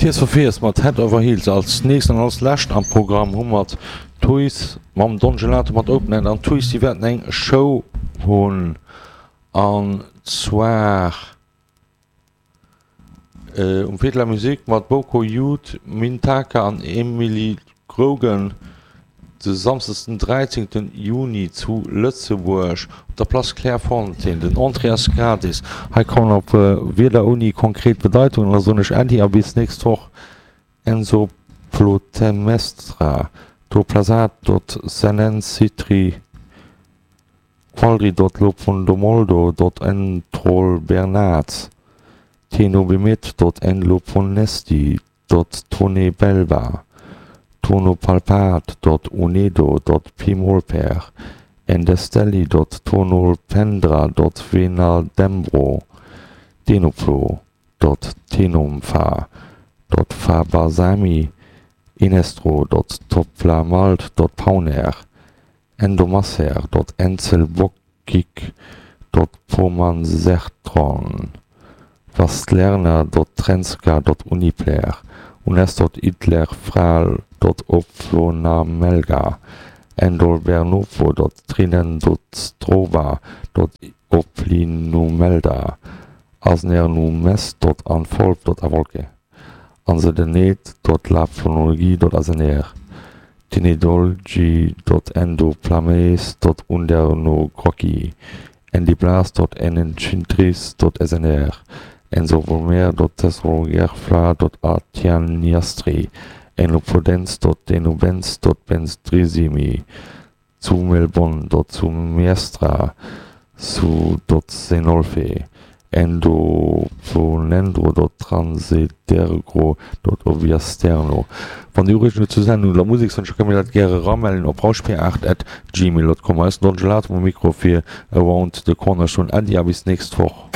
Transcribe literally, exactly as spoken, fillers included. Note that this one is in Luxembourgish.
Tears for Fears mat Head Over Heels. Als nächst an als lescht am Programm hu mer d'Tuys mam Don Gelato mat Open End. An d'Tuys déi wäerten eng Show hunn an zwar um Fête de la Musique mat Boko Youth, Mintaka an Emily Grogan de Samsdes den dräizéngten Juni zu Lëtzebuerg op der Place Clairefontaine. Den Entrée ass gratis. Hei kommen op Wierder ouni konkret Bedeitung an da soen ech Äddi a bis nächst Woch. Enzo Plotemestra do Plasat dot Senensitri Qualdri dot Lopondomoldo dot Entrolbernat Tenobemet dot Enloponesti dot Tonebelba Tonopalpat dot Unedo dot Pimolper Endestelli dot Tonolpendra dot Venadembro Denoplo dot Tenomfa dot Fabasami Enestro dot Toplamalt dot Pauner Endomasser dot Enzelbokik dot Pomansertron Wastlerner dot Trenska dot Unipler Unes dot Idlerfral dot Oplonamelga Endolbernopo dot Trinendostroba dot Oplinumelda Asnernumes dot Anfolb dot Avolke Ansedenet dot Laplonologie dot Asener Tenedolgi dot Endoplames dot Undernogrocki Endiblas dot Enenchintris dot Snr Ensovomer dot Tesrogerfla dot Atianiastri Enopodens dot Denobens dot Bensdrisimi Zumelbon dot Zumiestra su dot Senolfe Endoplonendro dot Transedergro dot Oviasterno. Wann Dir Ureegungen zur Sendung oder Musekswënsch hutt, kënnt mir dat gäre eramellen op rauschp aacht at gmail dot com. Hei ass den Don Gelato um Mikro fir Around the Corner. Ech soen Äddi a bis d'nächst Woch.